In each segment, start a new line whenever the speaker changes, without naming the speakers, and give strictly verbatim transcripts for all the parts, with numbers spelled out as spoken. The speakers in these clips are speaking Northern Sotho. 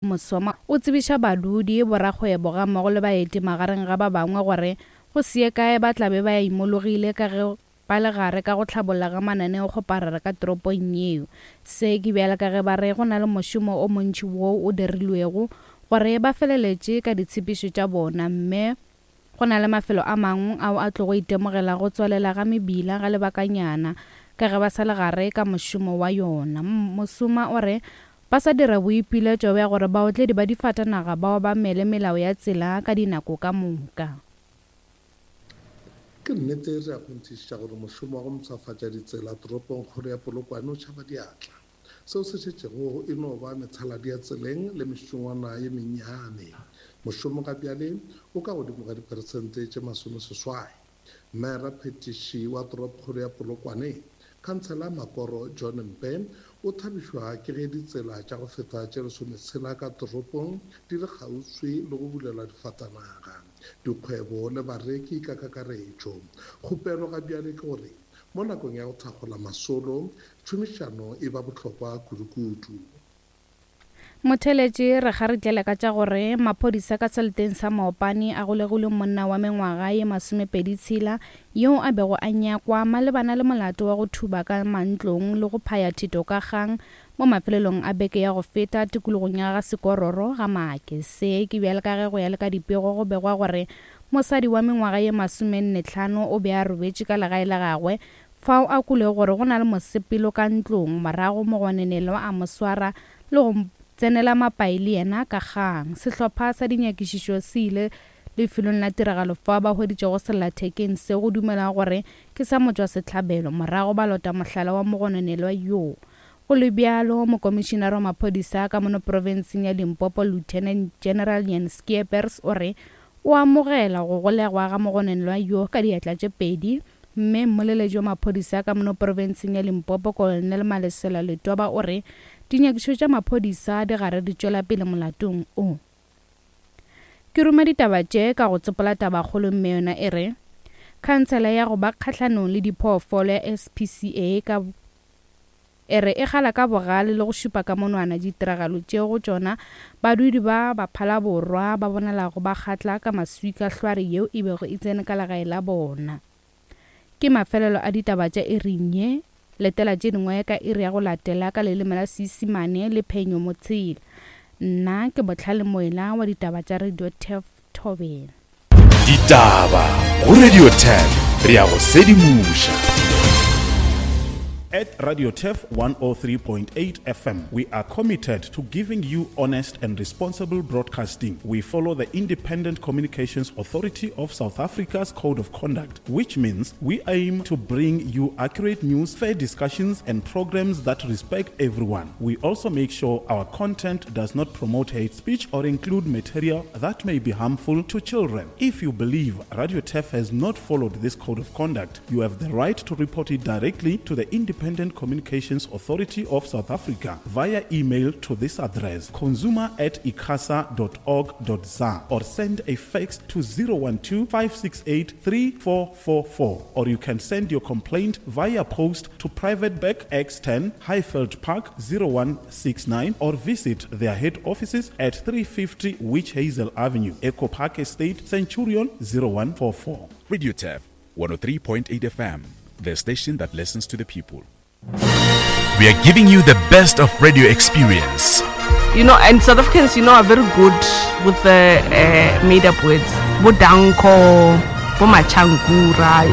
Mosoma o tsebiša badudi, borakgwebo gammogo le baeti magareng ga ba bangwe gore go se ye kae ba tla be ba imologile ka ge ba le gare ka go hlabolla ga mananeokgoparara ka toropong yeo. Se ke bjale ka ge ba re go na le mošomo o montši woo o dirilwego gore ba feleletše ka ditshepišo tša bona mme go na le mafelo a mangwe ao a tlogo itemogela go tswalela ga mebila ga lebakanyana ka ge ba sa le gare ka mošomo wa yona. Mosoma o re ba sa dira boipiletšo bja gore baotledi ba difatanaga ba obamele melao ya tsela ka dinako ka moka.
Ke nnete re a kgonthišiša gore mošomo wa go mpshafatša ditsela toropongkgolo ya Polokwane o tšhaba diatla. Seo se šetšego e no ba methaladi ya tseleng le mešongwana ye mennyane. Mošomo ga bjale o ka godimo ga diperesente tše masomeseswai. Mmaeraphethiši wa toropokgolo ya Polokwane, Khansela Makoro John Mpe, o thabišwa ke ge ditsela tša go feta tše lesometshela ka toropong di le kgauswi le go bulelwa difatanaga, dikgwebo le bareki ka kakaretšo. Kgopelo ga bjale ke gore mo nakong ya go thakgola masolo, tšhomišano e ba bohlokwa kudukudu.
Motheeletši re kgaritlele ka tša gore maphodisa ka seleteng sa Maopane a golegile monna wa mengwaga ye masomepedi tshela yoo a bego a nyakwa malebana le molato wa go thuba ka mantlong le go phaya thito ka kgang mo mafelelong a beke ya go feta tikologong ya ga Sekororo ga Maake. Se ke bjale ka ge go ya le ka dipego go begwa gore mosadi wa mengwaga ye masomenne hlano o be a robetše ka legae la gagwe fao a kwelego gore go na le mosepelo ka ntlong morago mogononelwa a mo swara le go tsenela mapai le yena ka kgang. Sehlopha sa dinyakišišo se ile lefelong la tiragalo fao ba hweditšego sellathekeng se go dumelwa gore ke sa motšwasehlabelo morago ba lota mohlala wa mogononelwa yoo. Go le bjalo, mokomišinara wa maphodisa ka mono profenseng ya Limpopo Lieutenant General Jan Skeepers o re o amogela go golegwa ga mogononelwa yoo ka diatla tše pedi mme mmoleletši wa maphodisa ka mono profenseng ya Limpopo Colonel Malesela Letoba o re dinyakišišo tša maphodisa di gare di tšwela pele molatong o. Ke ruma ditaba tše ka go tsopola tabakgolo mme yona e re khansela ya go ba kgahlanong le diphoofolo ya S P C A ka e re e gala ka bogale le go šupa ka monwana ditiragalo tšeo go tšona badudi ba Baphalaborwa ba bonalago ba kgatla ka maswika hlware yeo e bego e tsene ka legae la bona. Ke mafelelo a ditaba tša iring ye. Letela tše dingwe ka iri ya go latela ka leleme la Seisemane le Phenyo Motshela. Nna ke Bohlale Moela wa ditaba tša Radio Turf Thobela.
Ditaba go Radio Turf re ya go sedimoša.
At Radio Turf one oh three point eight F M, we are committed to giving you honest and responsible broadcasting. We follow the Independent Communications Authority of South Africa's Code of Conduct, which means we aim to bring you accurate news, fair discussions, and programs that respect everyone. We also make sure our content does not promote hate speech or include material that may be harmful to children. If you believe Radio Turf has not followed this Code of Conduct, you have the right to report it directly to the Independent Communications Authority of South Africa via email to this address, consumer at icasa dot org dot za, or send a fax to zero one two, five six eight, three four four four, or you can send your complaint via post to Private Bag X ten, Highveld Park zero one six nine, or visit their head offices at three fifty Witch Hazel Avenue, Echo Park Estate, Centurion zero one four four.
Radio Turf one oh three point eight F M, the station that listens to the people. We are giving you the best of radio experience.
You know, and South Africans, you know, are very good with the, uh, made-up words. Bodanko, Bomachankura.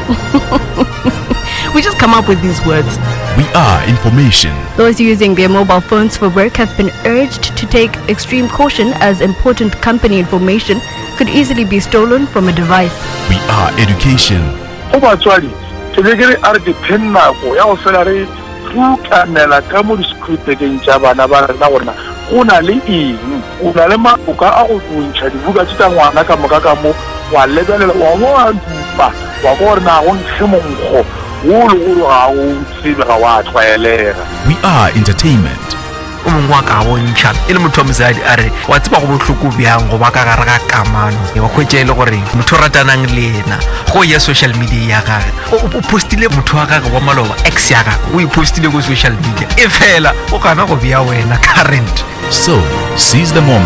We just come up with these words.
We are information.
Those using their mobile phones for work have been urged to take extreme caution as important company information could easily be stolen from a device.
We are education.
Go batswadi, ke be ke re a re ke phe nako ya go fela re rutanela ka mo di-scripteng tša bana ba rena gore na go na le eng, o na le maboka a go ntšha dibuka tše tša ngwana ka moka ka mo, wa lebelela, wa bo wa dupa, wa kwa gore na go nkge monkgo wo le gore ga o tsebe, ga wa tlwaelega.
We are entertainment.
O mongwe wa ka bontšha e le motho wa mosadi, a re wa tseba go bohloko bjang go ba ka gare ga kamano, wa hwetša e le gore motho o ratanang le yena go ya social media ya gage o o postile motho wa gage wa maloba, ex ya gage, o e postile ko social media, e fela o gana go bea wena current.
So, seize the moment.